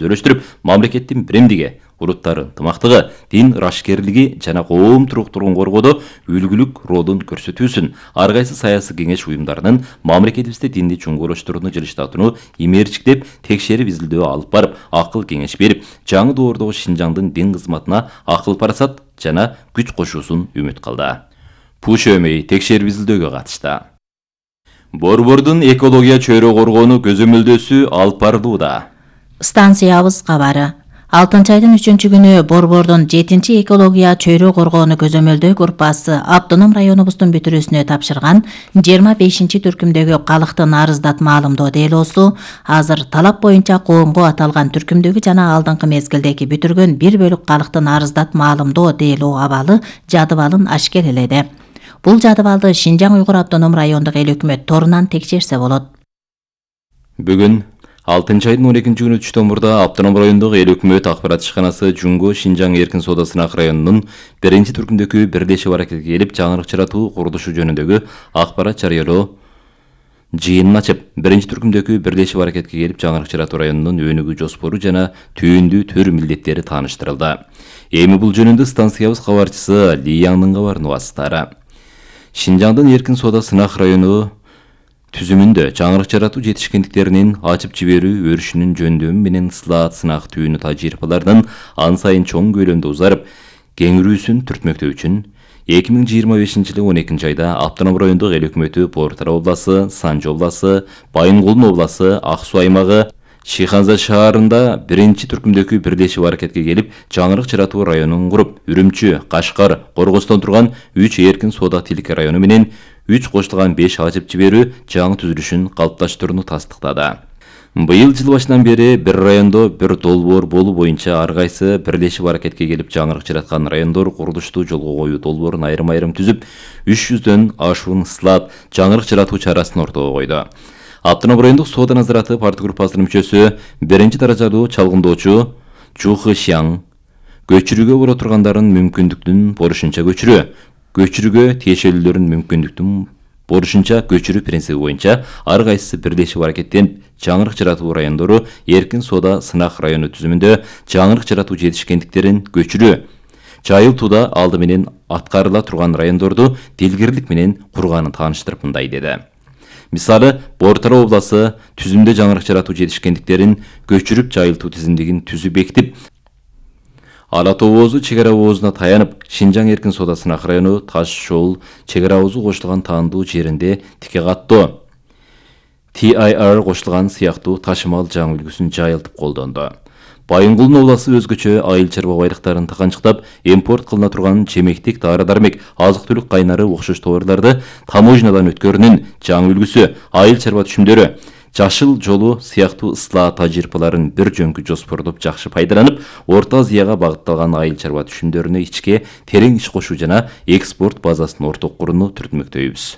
өздөштүрүп, мамлекеттин биримдиги, улуттар ынтымактыгы, дин ырашкерлиги жана коом туруктуулугун коргоодо үлгүлүк ролун көрсөтүүсүн, ар кайсы саясий кеңеш уюмдарынын мамлекетибизде динди чоңойлоштурууну жылыштатууну имерчиктеп, текшерип изилдөө алып барып, акыл кеңеш берип, жаңы доордогу Шинжаңдын дин кызматына акыл парасат жана күч кошуусун үмүт кылды. Пушөмей текшерип изилдөөгө катышты. Борбордун экология чөйрө коргоону көзөмөлдөөсү алып барылууда. Станциябыз кабары. 6-айдын 3-күнү Борбордун 7-чи экология чөйрө коргоону көзөмөлдөө группасы автоном районубуздун бүтүрүүсүнө тапшырган 25-чи түркүмдөгү калктын арыздатма алымдоо делосу азыр талап боюнча коомго аталган түркүмдөгү жана алдыңкы мезгилдеги бүтүргөн 1 бөлүк калктын арыздатма алымдоо делоо абалы жадыбалын ашкереледи. Бул жадыбалды Шинжаң Уйгур автоном райондук эл өкмөт торунан текшерсе болот. Бүгүн 6-айдын 12-күнү түштөн мурда автоном райондук эл өкмөт акпарат ишканасы Жунго Шинжаң эркин соода сынак районунун 1-чи түркүмдөгү бирлешип аракетке келип жаңырык жаратуу курулушу жөнүндөгү акпарат жарыялоо жыйынын ачып, 1-чи түркүмдөгү бирлешип аракетке келип жаңырык жаратуу районунун өнүгүү жоспору жана түйүндүү төр милдеттери тааныштырылды. Эми бул жөнүндө станциябыз кабарчысы Лиянын кабарын угасыздары. Шинжаңдын эркин соода сынак району түзүмүндө жаңырык жаратуу жетишкендиктеринин ачып жиберүү өрүшүнүн жөндөмү менен слаат сынак түйүнү тажрыйбаларынын ан сайын чоң көлөмдө узарып, кеңирүүсүн түртмөктөө үчүн 2025-жылы 12-чи айда автоном райондук эл өкмөтү Портара обласы, Санжы обласы, Байынгулдун обласы, Ак Суу аймагы, Шиханза шаарында 1-чи түркүмдөгү бирлешип аракетке келип, жаңырык жаратуу районун куруп, Үрүмчү, Кашкар, Коргостон турган 3 эркин соода тилик району менен 3 кошулган 5 ачып жиберүү жаңы түзүлүшүн калыпташтырууну тастыктады. Быйыл жыл башынан бери бир райондо бир долбоор болуу боюнча ар кайсы бирлешип аракетке келип жаңырык жараткан райондор курулушту жолго коюу долбоорун айрым-айрым түзүп, 300дөн ашуун слаат жаңырык жаратуу чарасын ортого койду. Автоном райондук соода назараты парт группасынын мүчөсү 1-чи даражалуу чалгындоочу Чухышяң көчүрүүгө бара тургандардын мүмкүндүктүн борушунча көчүрүүгө тиешелүүлөрүн мүмкүндүктүн борушунча көчүрүү принциби боюнча ар кайсысы бирлешип аракеттенип, жаңырык жаратуу райондору эркин соода сынак району түзүмүндө жаңырык жаратуу жетишкендиктерин көчүрүү жайылтууда алды менен аткарыла турган райондорду дилгирлик менен курганын тааныштырып мындай деди. Мисалы, Портара обласы түзүмдө жаңырык жаратуу жетишкендиктерин көчүрүп жайылтуу тизимдигин түзүп бекитип, Ала тоо оозу чек ара оозуна таянып, Шинжаң эркин соода сынак району Таш жол чек ара оозу кошулган таандуу жеринде тике каттоо TIR кошулган сыяктуу ташымал жаңы үлгүсүн жайылтып колдонду. Байынгулдун обласы өзгөчө айыл чарба байлыктарын тыканчыктап, импорт кылына турган чемектик, дары-дармек, азык-түлүк кайнары окшош товарларды таможнядан өткөрүүнүн жаңы үлгүсү, айыл чарба түшүмдөрү, жашыл жолу сыяктуу ысла тажрыйбаларын бир жөнкү жоспордоп жакшы пайдаланып, Орто Азияга багытталган айыл чарба түшүмдөрүнө ичке терең иш кошуу жана экспорт базасын орток курууну түртмөктөйбүз.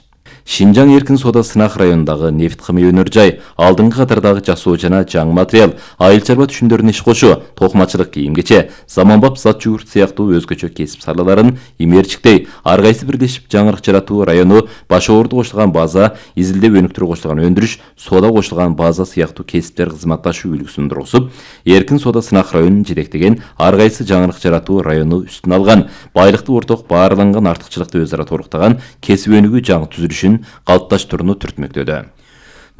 Шинжаң эркин соода сынак районундагы нефт кымый өнөр жай, алдыңкы катардагы жасоо жана жаңы материал, айыл чарба түшүмдөрүнө иш кошуу, токмачылык, кийим-кече, заманбап зат жугурт сыяктуу өзгөчө кесип салаларын имерчиктей, ар кайсы бирлешип жаңырык жаратуу району башоорду кошулган база, изилдөө өнүктүрүү кошулган өндүрүш, соода кошулган база сыяктуу кесиптер кызматташуу үлгүсүн тургузуп, эркин соода сынак районун жетектеген ар кайсы жаңырык жаратуу району үстүнө алган, байлыкты орток баарланган артыкчылыкты өз ара толуктаган кесип өнүгүү жаңы түзүлүшүн калыпташтырууну түртмөктөдү.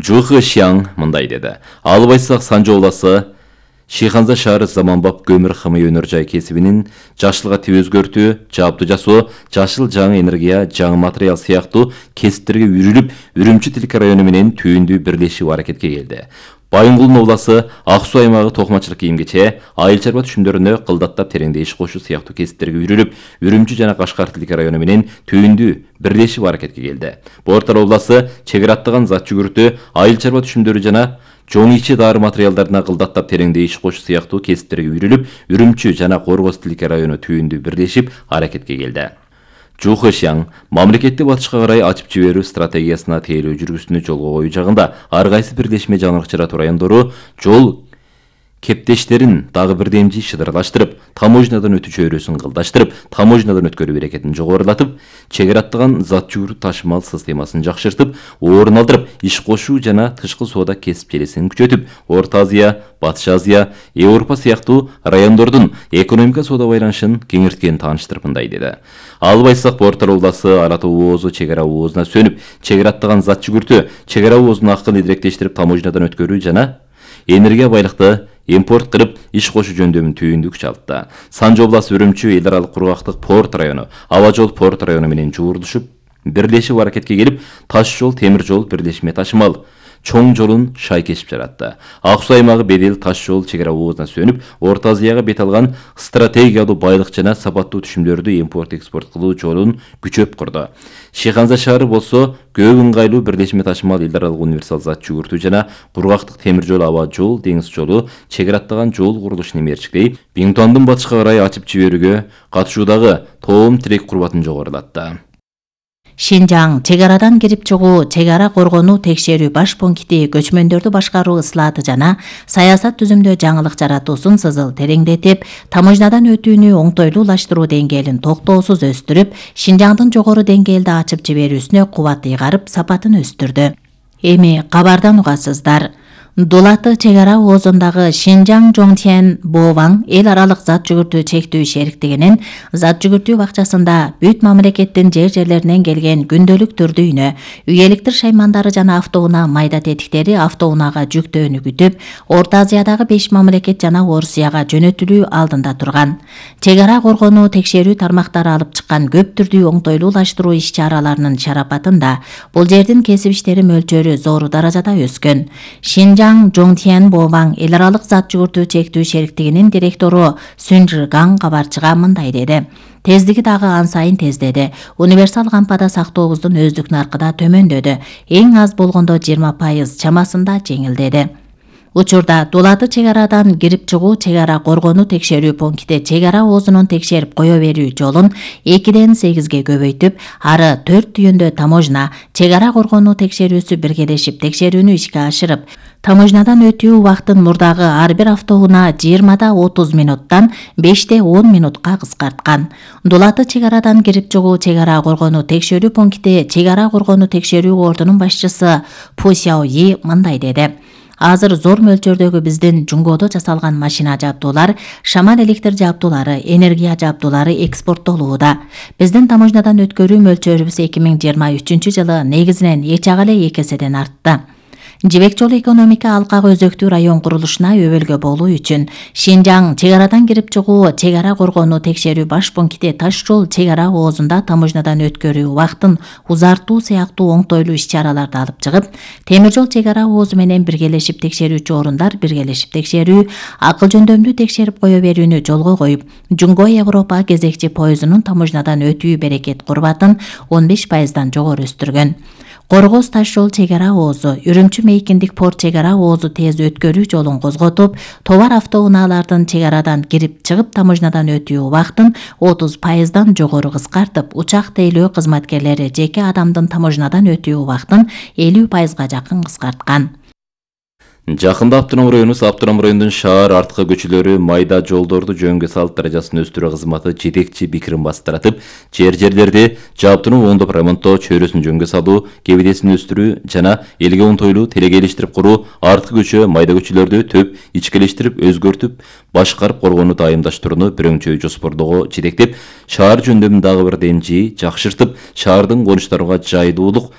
Чухышяң мындай деди. Алып айтсак, Санжы обласы Шиханза шаары заманбап көмүр кымый өнөр жай кесибинин жашылга тип өзгөртүү, жабдуу жасоо, жашыл жаңы энергия, жаңы материал сыяктуу кесиптерге үйрүлүп, Үрүмчү тилик району менен түйүндүү бирлешип аракетке келди. Байынгулдун обласы Ак Суу аймагы токмачылык, кийим-кече, айыл чарба түшүмдөрүнө кылдаттап тереңде иш кошуу сыяктуу кесиптерге үйрүлүп, Үрүмчү жана Кашкар тилик району менен түйүндүү бирлешип аракетке келди. Портара обласы чек ара аттаган зат жүгүртүү, айыл чарба түшүмдөрү жана жоң ичи дары материалдарына кылдаттап тереңде иш кошуу сыяктуу кесиптерге үйрүлүп, Үрүмчү жана Коргоз тилик району түйүндүү бирлешип аракетке келди. Чухышяң мамлекетти батышка карай ачып жиберүү стратегиясына тейлөө жүргүзүүнү жолго коюу жагында ар кайсы бирлешме жаңырык жаратуу райондору жол кептештерин дагы бир демжи шыдырлаштырып, таможнядан өтүү чөйрөсүн кылдаштырып, таможнядан өткөрүү берекетин жогорулатып, чек ара аттаган зат жүгүртүү ташымал системасын жакшыртып, орун алдырып, иш кошуу жана тышкы соода кесип желесин күчөтүп, Орто Азия, Батыш Азия, Европа сыяктуу райондордун экономика соода байланышын кеңирткенин тааныштырып мындай деди. Албайсак порттар обласы Ара Тоо оозу чек ара оозуна сөнүп, чек ара аттаган зат жүгүртүү, чек ара оозун акын идиректештирип, таможнядан өткөрүү жана энергия байлыкты импорт кылып иш кошуу жөндөмүн түйүндү күч алды. Санжы обласы Үрүмчү эл аралык кургактык порт району, аба жол порт району менен жуурдушуп, бирлешип аракетке келип, таш жол, темир жол бирлешме ташымал чоң жолун шай кесип жаратты. Ак суу аймагы Бедел таш жол чек ара оозуна сөнүп, Орто Азияга бет алган стратегиялуу байлык жана сапаттуу түшүмдөрдү импорт-экспорт кылуу жолун күчөп курду. Шыйханза шаары болсо көп ыңгайлуу бирлешме ташымал эл аралык универсал зат жүгүртүү жана кургактык темир жол, аба жол, деңиз жолу, чек ара аттаган жол курулушун эмерчиктей, Биңтуандын батышка карай ачып жиберүүгө катышуудагы тоом тирек курбатын жогорулатты. Шинжаң чек арадан кирип чыгуу, чек ара коргонуу текшерүү баш пункти көчмөндөрдү башкаруу ыслааты жана саясат түзүмдө жаңылык жаратуусун сызыл тереңдетип, таможнядан өтүүнү оңтойлуулаштыруу деңгээлин токтоосуз өстүрүп, Шинжаңдын жогору деңгээлде ачып жиберүүсүнө кубат ыйгарып, сапатын өстүрдү. Эми кабардан угасыздар. Дулаты чек ара оозундагы Шинжаң Жоңтен Боваң эл аралык зат жүгүртүү чектүү шериктигинин зат жүгүртүү бакчасында бүт мамлекеттин жерлеринен келген күндөлүк түрдүүнө, үйеликтир шаймандары жана автоунаа майда тетиктери автоунаага жүктөөнү күтүп, Орто Азиядагы 5 мамлекет жана Орусияга жөнөтүлүү алдында турган. Чек ара коргонуу текшерүү тармактары алып чыккан көп түрдүү оңтойлуулаштыруу иш-чараларынын шарапатында бул жердин кесип иштери мөлчөрү зор даражада өскөн. Шинжаң Жоңтен Боваң эл аралык зат жүгүртүү чектүү шериктигинин директору Сүнжиргаң кабарчыга мындай деди. Тездиги дагы ан сайын тездеди. Универсал кампада сактообуздун өздүк наркы да төмөндөдү. Эң аз болгондо 20% чамасында жеңилдеди. Учурда Дулаты чек арадан кирип чыгуу чек ара коргонуу текшерүү пункти чек ара оозунун текшерип кое берүү жолун 2ден 8ге көбөйтүп, ары 4 түйүндө таможня, чек ара коргонуу текшерүүсү биргелешип текшерүүнү ишке ашырып, таможнядан өтүү убактын мурдагы ар бир автоунаа 20да 30 минуттан 5де 10 минутка кыскарткан. Дулаты чек арадан кирип чыгуу чек ара коргонуу текшерүү пункти чек ара коргонуу текшерүү ордунун башчысы Пу Сяои мындай деди. Азыр зор мөлчөрдөгү биздин жунгодо жасалган машина жабдуулар, шамал электр жабдуулары, энергия жабдуулары экспорттолууда. Биздин таможнядан өткөрүү мөлчөрүбүз 2023 жылы негизинен эч ага эле 2 эседен артты. Жибек жолу экономика алкагы өзөктүү район курулушуна өбөлгө болуу үчүн Шинжаң чек арадан кирип чыгуу чек ара коргонуу текшерүү баш пункти таш жол чек ара оозунда таможнядан өткөрүү убактын узартуу сыяктуу оңтойлуу иш-чараларды алып чыгып, темир жол чек ара оозу менен биргелешип текшерүүчү орундар биргелешип текшерүү, акыл жөндөмдүү текшерип кое берүүнү жолго коюп, Жунго Европа кезекчи поездунун таможнядан өтүү берекет курбатын 15%дан жогору өстүргөн. Коргоз таш жол чек ара оозу, Үрүмчү Мейкиндик порт чек ара оозу тез өткөрүү жолун козготуп, товар автоунаалардын чек арадан кирип чыгып таможнядан өтүү убактын 30%дан жогору кыскартып, учак тейлөө кызматкерлери жеке адамдын таможнядан өтүү убактын 50%га жакын кыскарткан. Жакында Аптоном району Аптоном районунун шаар арткы көчөлөрү майда жолдорду жөнгө салып даражасын өстүрүү кызматы жетекчи пикирин бастыратып, жерлерди жабдууну оңдоп ремонттоо, чөйрөсүн жөнгө салуу, кебедесин өстүрүү жана элге оңтойлуу телегейлештирип куруу, арткы көчө, майда көчөлөрдү төп ичкелештирип, өзгөртүп, башкарып коргонуу дайымдаштырууну бирөңчөй жоспордоого жетектеп, шаар жөндөмүн дагы бир демжи жакшыртып, шаардын конуштарга жайлуулук